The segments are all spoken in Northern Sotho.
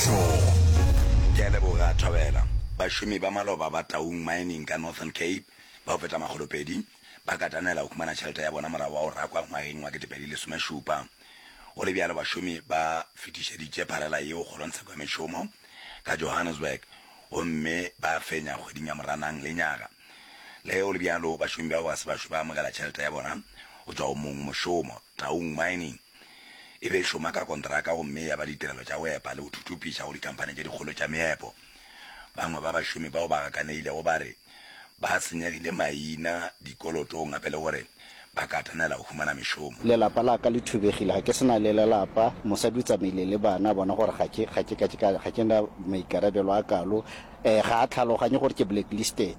Bokamoso. Ke a leboga Thobela. Bašomi ba maloba ba Taung Mining ka Northern Cape ba go feta makgolopedi ba katanela go humana tšhelete ya bona morago wa go rakwa ngwageng wa 2017. Go le bjalo bašomi ba fetišeditše pharela yeo kgorongtsheko ya mešomo ka Johannesburg gomme ba fenya kgweding ya Moranang lenyaga. Le ge go le bjalo bašomi bao ga se ba šwe ba amogela tšhelete ya bona go tšwa go mongmošomo, Taung Mining. E be e šoma ka kontraka gomme ya ba ditirelo tša go epa le go thuthupiša go dikhamphani tše dikgolo tša meepo. Bangwe ba bašomi bao ba gakaneilego ba re ba senyegile maina dikolotong gape le gore ba katanela go humana mešomo. Lelapa la ka le thubegile, ga ke se na le lelapa. Mosadi o tsamaile le bana, a bona gore ga ke, ga ke, ga ke na maikarabelo a kalo. Ga a tlhaloganye gore ke blacklisted.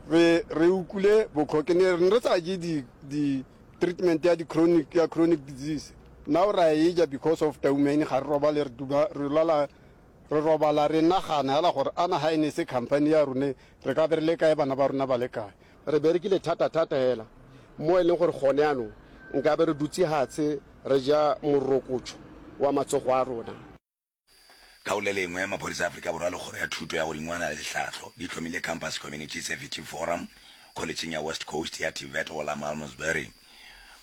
Re, re ukule bokho, ke ne re sa je di, di treatment ya di chronic, ya chronic disease. Now ra e ja because of Taumane, ga re robale, re duba, re lwala, re robala re nagana hela gore ana ha e ne se company ya rone, re ka be re le kae, bana ba rona ba le kae. Re berekile thata-thata hela mo e leng gore gone yanong nkabe re dutse hatshe re ja morokotšo wa matsogo a rona. Ka go le lengwe, maphodisa a Afrika Borwa le Kgoro ya Thuto ya Godingwana le Tlhahlo di hlomile Campus Community Safety Forum Kholetšheng ya West Coast ya TVET go la Malmesbury.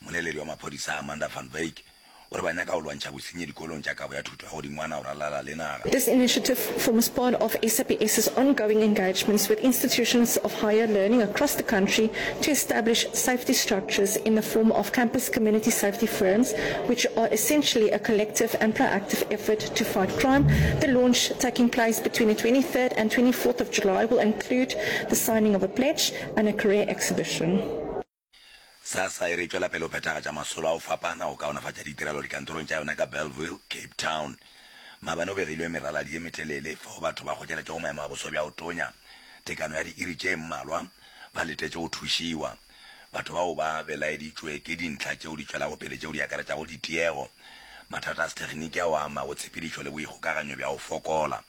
Mmoleledi wa maphodisa Amanda van Wyk o re ba nyaka go lwantšha bosenyi dikolong tša kabo ya thuto ya godingwana go ralala le naga. This initiative forms part of SAPS's ongoing engagements with institutions of higher learning across the country to establish safety structures in the form of campus community safety forums, which are essentially a collective and proactive effort to fight crime. The launch, taking place between the 23rd and 24th of July, will include the signing of a pledge and a career exhibition. SASSA e re e tšwela pele go phethagatša masolo a go fapana go kaonafatša ditirelo dikantorong tša yona ka Bellville, Cape Town. Maabane go begilwe meraladi ye metelele fao batho ba kgotleletšego maemo a boso bja go tonya tekano ya diiri tše mmalwa ba letetše go thušiwa. Batho bao ba belaeditšwe ke dintlha tšeo di tšwelago pele tšeo di akaretšago ditiego, mathata a sethekgniki ao a amago tshepedišo le boikgokaganyo bja go fokola.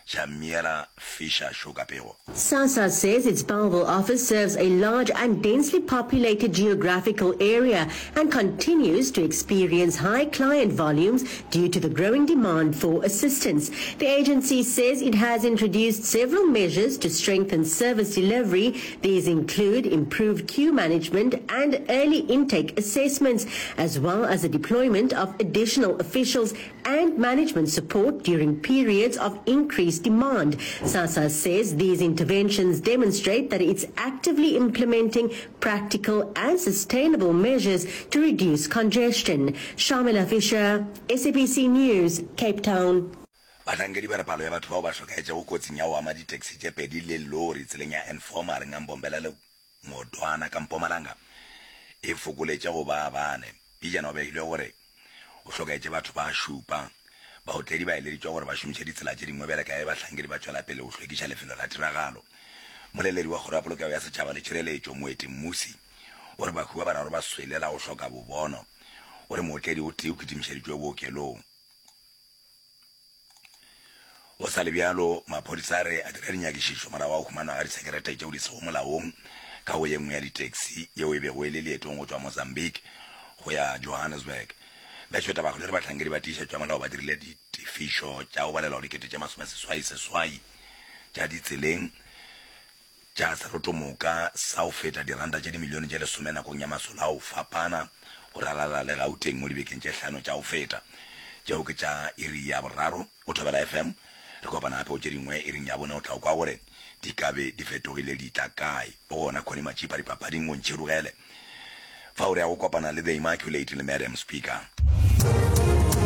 Shamiela Fisher šo ka pego. SASSA says its Bellville office serves a large and densely populated geographical area and continues to experience high client volumes due to the growing demand for assistance. The agency says it has introduced several measures to strengthen service delivery. These include improved queue management and early intake assessments, as well as the deployment of additional officials and management support during periods of increased demand. SASSA says these interventions demonstrate that it's actively implementing practical and sustainable measures to reduce congestion. Shamila Fisher, SABC News, Cape Town. Bahlankedi ba re palo ya batho bao ba hlokaetšego kotsing ya go ama ditaxi tše pedi le lori tseleng ya N4 magareng a Mbombela le Ngodwana ka Mpumalanga e fokoletše go ba bane. Pejana go begilwe gore go hlokaetše batho ba šupa. Baotledi ba eleditšwe gore ba šomiše ditsela tše dingwe bjale ka ge bahlankedi ba tšwela pele go hlwekiša lefelo la tiragalo. Moleledi wa Kgoro ya Polokego ya Setšhaba le Tšhireletšo, Moeti Mmusi, o re bahu ba bararo ba swele la go hloka bobono. O re mootledi o tee o kitimišeditšwe bookelong. Go sa le bjalo, maphodisa a re a dira dinyakišišo morago ga go humanwa ga disekerete tšeo di sego molaong ka go ye nngwe ya di-taxi yeo e bego e le leetong go tšwa Mozambique go ya Johannesburg. Bešwetabagolo e re bahlankedi ba tiišetšo ya molao ba dirile ditefišo tša go balelwa go dikete tše masomeseswai-seswai tša ditseleng tša serotomoka sa go feta diranta tše dimilione tše lesome nakong ya masolo a go fapana go ralala le Gauteng mo dibekeng tše hlano tša go feta. Tšeo ke tša iri ya boraro go Thobela FM. Re kopana gape go tše dingwe iring ya bone o tla kwa gore di ka be di fetogile di tla kae. O gona Connie Matšipa dipapading o ntšhirogele fao re ya go kopana le The Immaculate le Madam Speaker.